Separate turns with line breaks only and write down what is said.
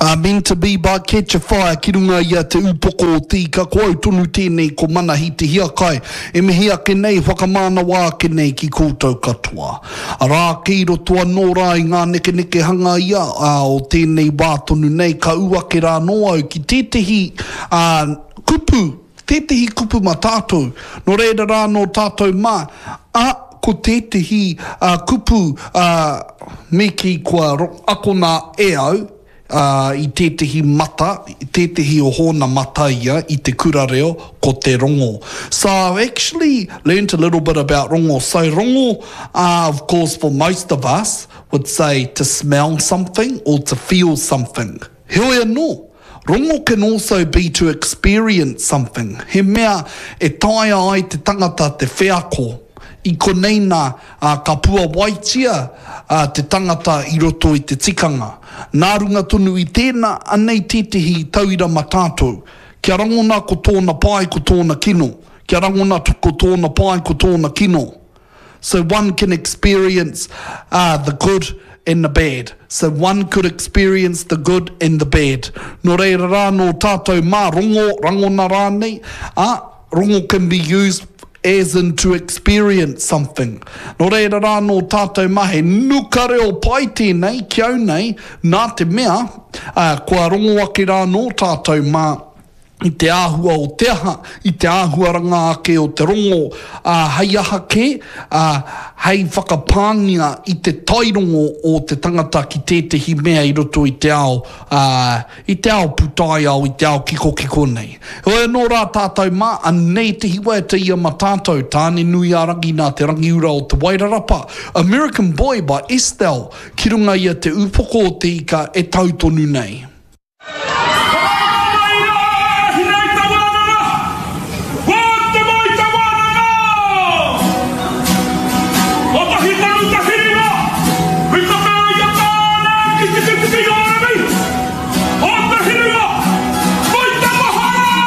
A Meant to be by Ketchafire ki runga i a Te Upoko o Te Ika, ko au tonu tēnei ko Manahi Te Hiakai e mihi ake nei, whakamānawa ake nei ki koutou katoa. Arā, kei roto anō rā i ngā nekenekehanga ia, ā, o tēnei wā tonu nei, ka ū ake rā anō au ki tētehi, ā, kupu, tētehi kupu mā tātou, nō reira rā nō tātou mā, ā, ko tētehi, ā, kupu, ā, me kī kua akona e au, ā, i tētehi mata, tētehi o hōna mata ia i te kura reo, ko te rongo. So I've actually learnt a little bit about rongo. So rongo, uh, of course for most of us, would say to smell something or to feel something. Heoi anō, rongo can also be to experience something, he mea e taea ai te tangata te wheako. I konei nā, ā, ka puawaitia te tangata i roto i te tikanga. Nā runga tonu i tēnā, anei tētehi tauira ma tātou. Kia rangona ko tōna pai, ko tōna kino. Kia rangona ko tōna pai, ko tōna kino. So one can experience uh, the good and the bad. So one could experience the good and the bad. Nō reira rā nō tātou mā rongo, rangona rānei, ā, rongo can be used as in to experience something. Nō reira rā nō tātou mā he nuka reo pai tēnei ki au nei, nā te mea, ā, kua rongo ake rā nō tātou mā i te āhua o te aha, i te āhuaranga ake o te rongo, ā, hei aha kē, ā, hei whakapāngia i te tairongo o te tangata ki tētehi mea i roto i te ao, ā, i te ao pūtaiao, i te ao kikokiko nei. Heoi anō rā tātou mā, anei te hiwaiata ia ma tātou, Tāne-nui-ā-rangi nā Te Rangiura o Te Wairarapa, American Boy by Estelle, ki runga i a Te Upoko o Te Ika e tau tonu nei.